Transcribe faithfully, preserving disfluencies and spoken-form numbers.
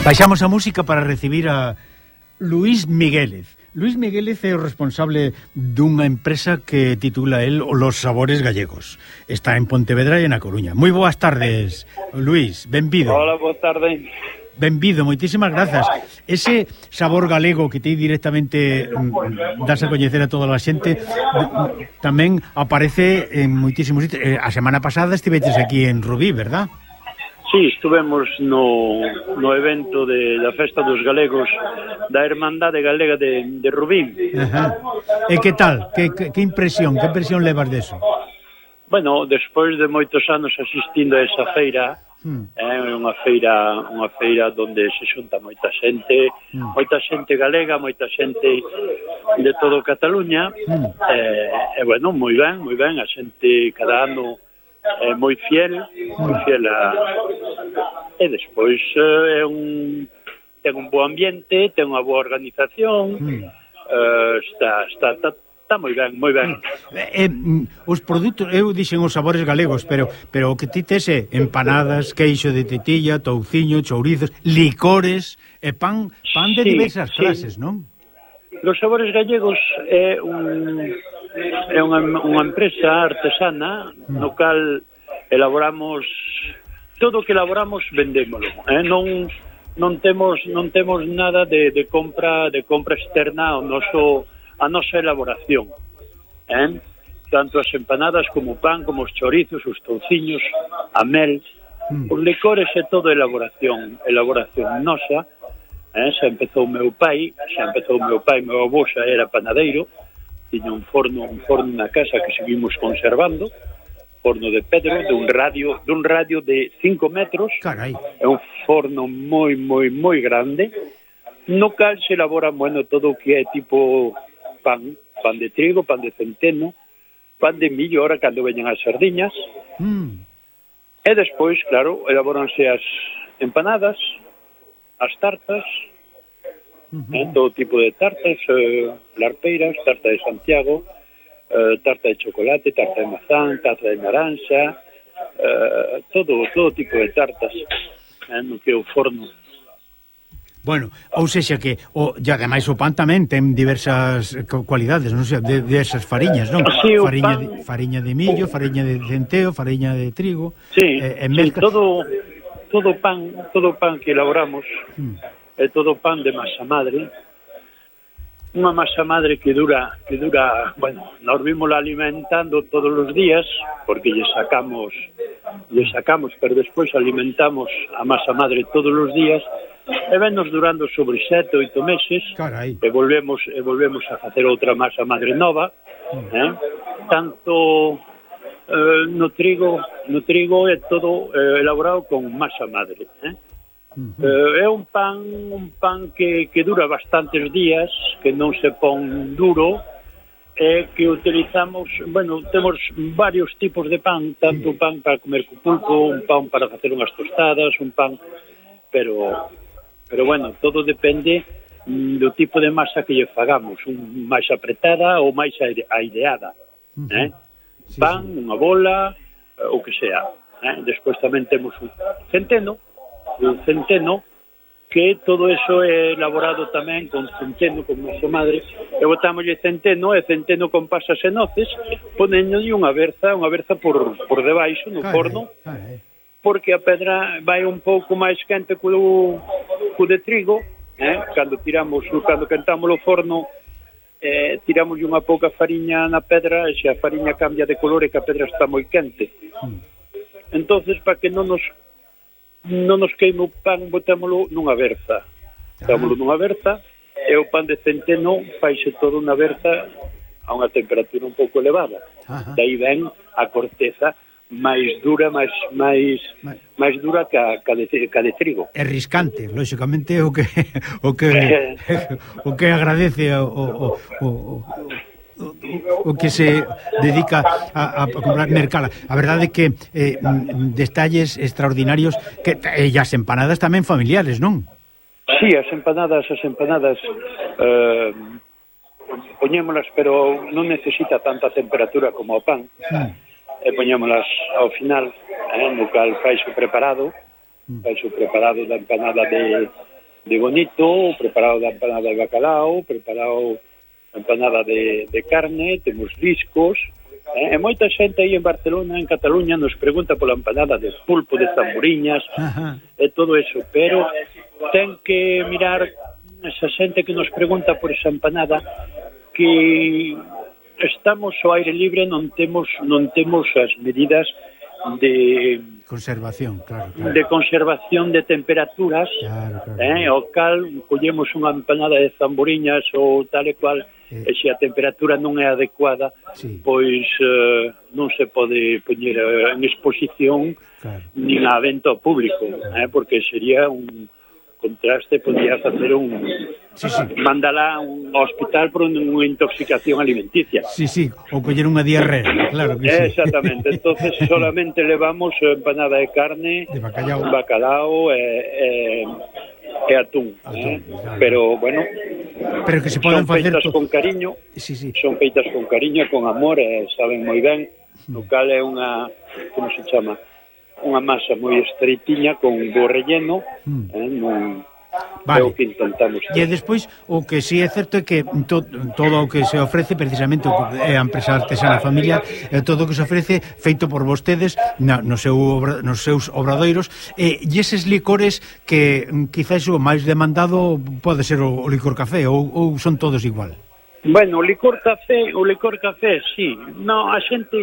Baixamos a música para recibir a Luís Miguélez. Luís Miguélez é o responsable dunha empresa que titula el Los Sabores Gallegos. Está en Pontevedra e na Coruña. Moi boas tardes, Luís, benvido. Hola, boa tarde. Benvido, moitísimas grazas. Ese sabor galego que ti directamente mm, das a coñecer a toda a xente tamén aparece en moitísimos sitios. A semana pasada estiveches aquí en Rubí, verdad? Sí, estuvemos no, no evento de, da Festa dos Galegos da Hermandade Galega de, de Rubí. Ajá. E que tal? Que, que, que impresión? Que impresión levas deso? Bueno, despois de moitos anos asistindo a esa feira, hmm. é unha feira unha feira onde se xunta moita xente, hmm. moita xente galega, moita xente de todo Cataluña, hmm. e, e bueno, moi ben, moi ben, a xente cada ano é moi fiel, moi fiel a... E despois é un... ten un bo ambiente, ten unha boa organización, mm. uh, está, está, está, está moi ben, moi ben. Eh, eh, os produtos, eu dixen os sabores galegos, pero pero o que ti tes é empanadas, queixo de tetilla, touciño, chourizos, licores e pan, pan de sí, diversas sí. clases, non? Los Sabores Gallegos é un... é unha, unha empresa artesana no cal elaboramos todo o que elaboramos vendémolo, eh? non non temos non temos nada de, de compra de compra externa ao noso a nosa elaboración, eh? Tanto as empanadas como o pan, como os chorizos, os touciños, a mel, os licores é todo elaboración, elaboración nosa. Eh? Xa empezou o meu pai, xa empezou o meu pai, meu avó xa era panadeiro, tiña un forno, un forno na casa que seguimos conservando, forno de pedro, dun radio, dun radio de cinco metros. Carai. É un forno moi, moi, moi grande, no cal se elabora, bueno, todo o que é tipo pan, pan de trigo, pan de centeno, pan de millo, ahora cando veñen as sardiñas, mm. e despois, claro, elaboranse as empanadas, as tartas, uh-huh. eh, todo tipo de tartas, eh, larpeiras, tarta de Santiago, eh, tarta de chocolate, tarta de mazán, tarta de naranxa, eh, todo todo tipo de tartas, eh, no que é o forno. Bueno, ou sexa que o, e ademais o pan tamén ten diversas cualidades, non sei, de, de esas fariñas, non? Sí, fariña, pan... de, fariña de millo, fariña de centeo, fariña de trigo. Sí, eh, sí mezcla... todo todo pan, todo pan que elaboramos hmm. é todo pan de masa madre. Unha masa madre que dura, que dura, bueno, nos vimos alimentando todos os días, porque lle sacamos, lle sacamos, pero despois alimentamos a masa madre todos os días, e vennos durando sobre sete, oito meses. Carai. e volvemos e volvemos a facer outra masa madre nova, hmm. eh? tanto eh, no trigo, no trigo é todo eh, elaborado con masa madre, eh? Uh-huh. Eh, é un pan un pan que, que dura bastantes días, que non se pon duro, e que utilizamos, bueno, temos varios tipos de pan, tanto un pan para comer co pulpo, un pan para facer unhas tostadas, un pan, pero pero bueno, todo depende mm, do tipo de masa que lle fagamos, un máis apretada ou máis aireada, uh-huh. eh? Sí, pan, sí. Unha bola, o que sea, eh? Despois tamén temos un centeno, un centeno, que todo eso é elaborado tamén con centeno, con nosa madre, e botámoslle centeno, e centeno con pasas e noces, ponenlle unha berza, unha berza por, por debaixo, no forno, porque a pedra vai un pouco máis quente co, co de trigo, eh? Cando tiramos, cando quentamos o forno, eh, tiramos unha pouca fariña na pedra, e se a fariña cambia de color é que a pedra está moi quente. Entonces, para que non nos non nos queime o pan, botámoslo nunha berza. Botámoslo nunha berza, e o pan de centeno faixe todo unha berza a unha temperatura un pouco elevada. Ajá. Daí ven a corteza máis dura, máis máis máis dura que a, que a, de, que a de trigo. É riscante, lóxicamente, o que o que o que agradece o o, o, o o que se dedica a, a comprar mercala. A verdade é que eh, detalles extraordinarios que e as empanadas tamén familiares, non? Sí, as empanadas, as empanadas eh, poñémolas, pero non necesita tanta temperatura como o pan. Mm. E poñémolas ao final, eh, no cal faixe preparado, faixe preparado da empanada de de bonito, preparado da empanada de bacalao, preparado a empanada de, de carne, temos discos, eh, e moita xente aí en Barcelona, en Cataluña, nos pregunta pola empanada de pulpo, de tamboriñas, Ajá. e todo eso, pero ten que mirar esa xente que nos pregunta por esa empanada, que estamos ao aire libre, non temos non temos as medidas de conservación, claro, claro. de conservación de temperaturas, claro, claro, eh, claro. O cal collemos unha empanada de tamboriñas ou tal e cual, eh. e se a temperatura non é adecuada, sí. pois eh, non se pode poñer en exposición, claro. nin a venta ao público, claro. eh, porque sería un contraste, podría facer un sí, sí. mandala a un hospital por unha intoxicación alimenticia. Sí, sí, ou coller unha diarrea, claro que sí. Exactamente, entonces solamente levamos empanada de carne, de bacalao, bacalao e, e, e atún, atún eh? claro. Pero bueno, pero que se poden son facer feitas con cariño, sí, sí. son feitas con cariño, con amor, e saben moi ben, o cal é unha, como se chama, unha masa moi estreitiña con bo relleno, mm. eh, non vale. É o que intentamos. E despois, o que si sí é certo é que to, todo o que se ofrece, precisamente, o que é a empresa artesana familiar, é todo o que se ofrece feito por vostedes na, no seu obra, nos seus obradoiros, e, e eses licores que quizás o máis demandado pode ser o, o licor café, ou, ou son todos igual? Bueno, o licor café, o licor café, sí. No, a xente